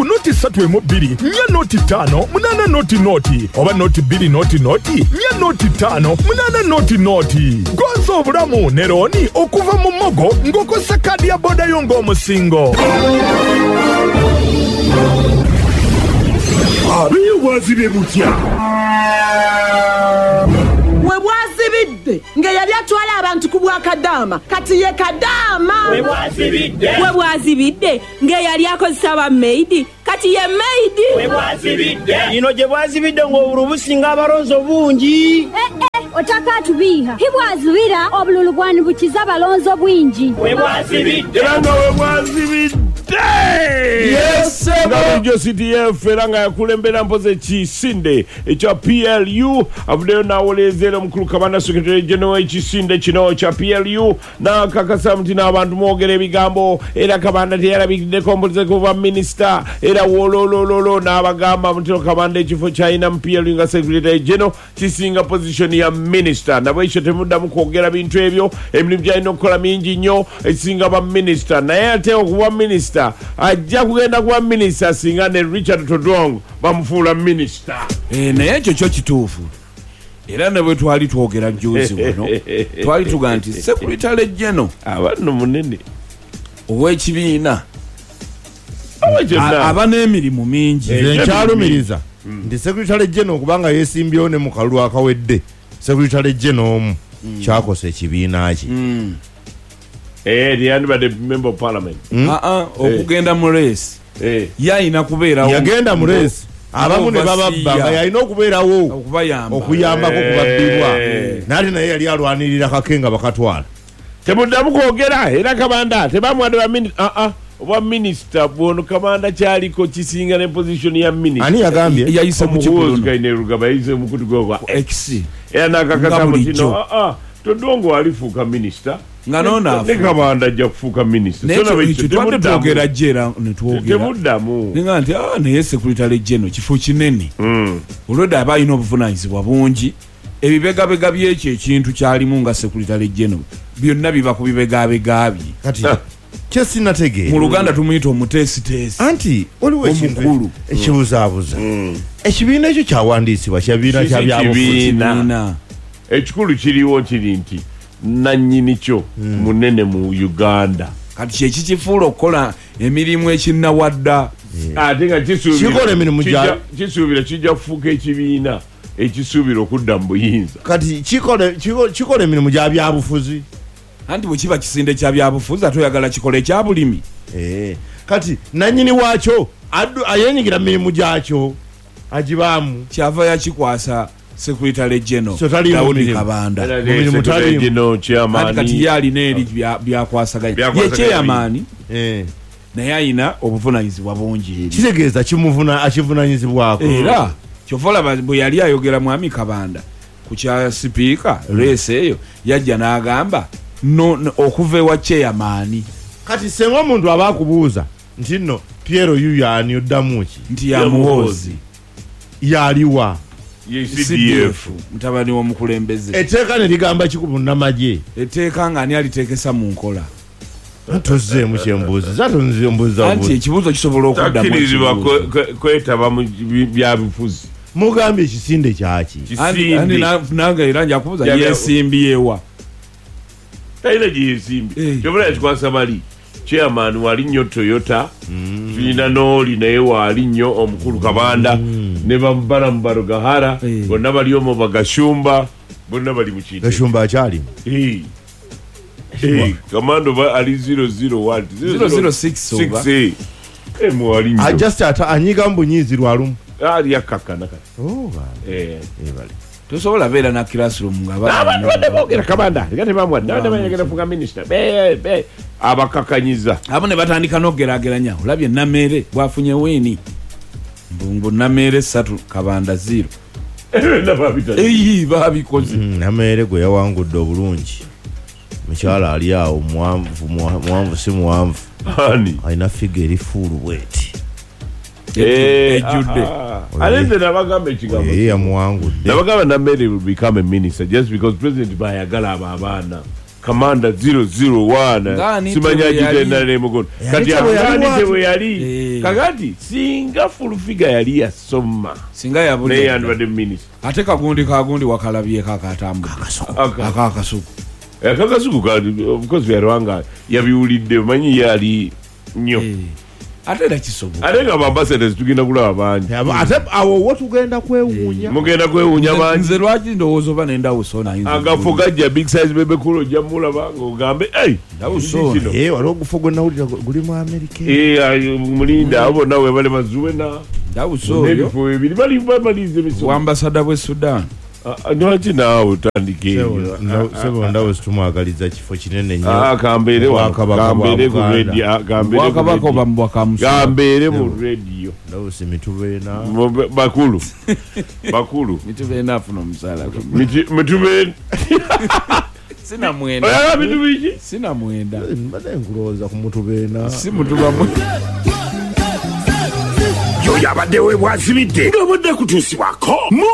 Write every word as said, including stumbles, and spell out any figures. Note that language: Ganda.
ku noti ssatu emu bbiri nnya noti ttaano munaana noti noti oba noti bbiri noti noti nnya noti ttaano munaana noti noti. Gonza obulamu ne looni okuva mu Mogo ng'okozesa kaadi ya boda yo ng'omusingo. Abeyo bwazibye butya? We bwazibidde nga yali atwala abantu ku bwakadaama kati ye kadaama. We bwazibidde. We bwazibidde nga yali akozesa ba maid kati ye maid. We bwazibidde. Ino gye bwazibidde ng'obululu businga abalonzi bungi. Eh eh, otaka tubiha. Hibwazibira obululu bwani bukiza abalonzi bwingi. We bwazibidde. Era nga we bwazibidde. Yes, nga C D F era nga yakulembera mpoze ekisinde ekya P L U avuddeyo n'awoleeza omukulu Kabanda Secretary General ekisinde kino kya P L U n'akakasa nti n'abantu mwogera ebigambo era Kabanda teyalabikiddeko mpoze kuva minisita era wololololo n'abagamba nti Kabanda ekifo ky'alina mu P L U nga Secretary General kisinga position ya minisita nabwekyo temuddamu kwogera bintu ebyo emirimu gy'alina okukola mingi nnyo ekisinga ba minisita naye ate okuba minisita ajja kugenda kuba minisita singa ne Richard Todwong bamufuula minisita. Eh, naye ekyo kyo kituufu era ne bwe twali twogera jjuuzi wano twali tuga nti Secretary General aba nno munene ow'ekibiina aba n'emirimu mingi. Nze nkyalumiriza nti Secretary General kubanga yeesimbyewo ne mu kalulu akawedde Secretary General omu kyakosa ekibiina kye. Eh, yandibadde member of parliament. Ah ah, okugenda mu race. Eh. Yayina kubeerawo. Yagenda mu race. Abamu ne bababba nga yalina okubeerawo okubayamba. Okuyambako kubabbibwa. N'ate naye yali alwanirira kake nga bakatwala. Temuddamu kwogera era Kabanda tebamuwadde ba minisita. Ah ah, obwa minisita bwono Kabanda kyaliko kisinga ne position ya minisita. Ani yagambye? Yayise mu kikulu. Kainerugaba yayise mu kutu gwa X. Era n'akakasa mu kino. Ah ah, Todwong alifuuka minisita. Nga nona ne Kabanda ajja kufuuka minisita. Twadde twogera jera ne twogera. Temuddamu. Ninga nti ah naye Secretary General kifo kinene. Olwedde aba alina obuvunaanyizibwa bungi. Ebibegabega by'ekyo ekintu kyalimu nga Secretary General byonna biba ku bibegabega bye. Kati kye sinategeera. Mu Luganda tumuyita omuteesiteesi. Anti waliwo ekintu ekibuzaabuza. Ekibiina ekyo kyawandiisibwa kyabiina kya byabufuzi. Ekikulu kiriwo kiri nti nannyini kyo munene mu Uganda. Kati kye kikifuula okukola emirimu ekinnawadda. Ate nga kisuubira kikola emirimu gya kisuubira kijja kufuuka ekibiina ekisuubira okudda mu buyinza. Kati kikola kikola emirimu gya byabufuzi. Anti bwe kiba kisinde kya byabufuzi ate oyagala kikole ekya bulimi. Eh, kati nannyini waakyo ayenyigira mu mirimu gyakyo agibaamu. Kyava yakikwasa Secretary General Daudi Kabanda. Secretary General chairman. Kati yali n'eri byakwasaganya. Ye chairman. Eh. Naye ayina obuvunaanyizibwa bungi eri. Kitegeeza kimuvuna akivunaanyizibwako. Era kyova olaba bwe yali ayogera Mwami Kabanda ku kya sipiika race eyo yajja n'agamba no okuva ewa chairman. Kati senga omuntu aba akubuuza nti nno Piero yuyo ani oddamu ki? Nti ya Muhoozi. Yaliwa. C D F mutabani w'omukulembeze. Etteeka ne ligamba ki ku munnamagye? Etteeka nga ani aliteekesa mu nkola? Tozzeemu kyembuuziza, tonzimbuuza. Anti ekibuuzo kisobola okuddamu. Takkirizibwa kwetaba mu byabufuzi. Mugambye ekisinde kyaki? Anti nange era nja kubuuza yeesimbyewa. Talina gye yeesimbye. Kyova yakikwasa bali. Chairman wali nnyo Toyota, tulina n'oli naye waali nnyo omukulu Kabanda, ne bambala mu Barugahara, bonna bali omwo Bagashumba, bonna bali mu kintu. Gashumba akyalimu? Eh, Kamando ba ali zero zero one zero zero six oba. Eh, mwali nnyo. Just ata anyiga mbunyizi lwalumu. Ali yakkakkana kati. Oh, bale. Eh, eh bale. Tosobola beera na classroom nga abantu badde boogera Kabanda, nga tebamuwadde, abadde bayagala kufuuka minisita. Be be abakakanyiza. Abo ne batandika n'okugeraageranya. Olabye Namere bw'afunye wiini. Mbungu Namere ssatu Kabanda zero. Eyi babikoze. Namere gwe yawangudde obulungi. Mukyala ali awo muwanvu muwanvu si muwanvu. Ani? Alina figure eri fuulu bw'eti. Ejjudde. Ate nabagamba ekigambo. Ye yamuwangudde. Nabagamba Namere will become a minister just because President bayagala abo abaana. Kamanda zero zero one Ngani simanya tebwe yali. agitendera emukono kati tebwe yali ani watu. tebwe yali Eh. kakati singa fulufiga yali yasoma Singa naye yabulira. yandibadde minisita. Ate kagundi kagundi wakalabyeko akatambudde. Aka- Akakasuku. Akakasuku ka- of course byalwanga yabiwulidde, omanyi yali nnyo. Eh. Ate era kisoboka. Ate nga baambasadors tugenda kulaba bangi. Ate awo wo tugenda kwewuunya. Mugenda kwewuunya bangi. Nze lwaki ndowooza oba nendawuso ono ayinza Agafo gajja, Big Size Bebe Cool ojja mulaba ng'ogambe "Ei, Ndawuso kino." Eh, waliwo ogufo gwe nawulira gu- guli mu Amerika. Eh, ayo, mulinda abo bonna webale bazuwena Ndawuso oyo n'ebifo bibiri bali bamaliriza emisomo. Wambasada bw'e Sudan. Ah, ah, lwaki naawe otandika ebyo? Sebo Ndawusi tumwagaliza kifo kinene nnyo. Ah, kambeere wano, Obwakabaka bwa kambeere ku Buganda. radio, ah, kambeere ku Bwakabaka radio. oba mu bwakamusa. Kambeere mu radio. Ndawusi mitubeena. Mu- bakulu bakulu. Mitubeena afuna omusaala gwe. Miti- mitube Sinamwenda. Oyagala bitu biki? Sinamwenda. Mbadde nkulowooza ku mutubeena. Si mutuba mwe. Yoyo abadde we bwazibidde ng'obadde kutuusibwako mu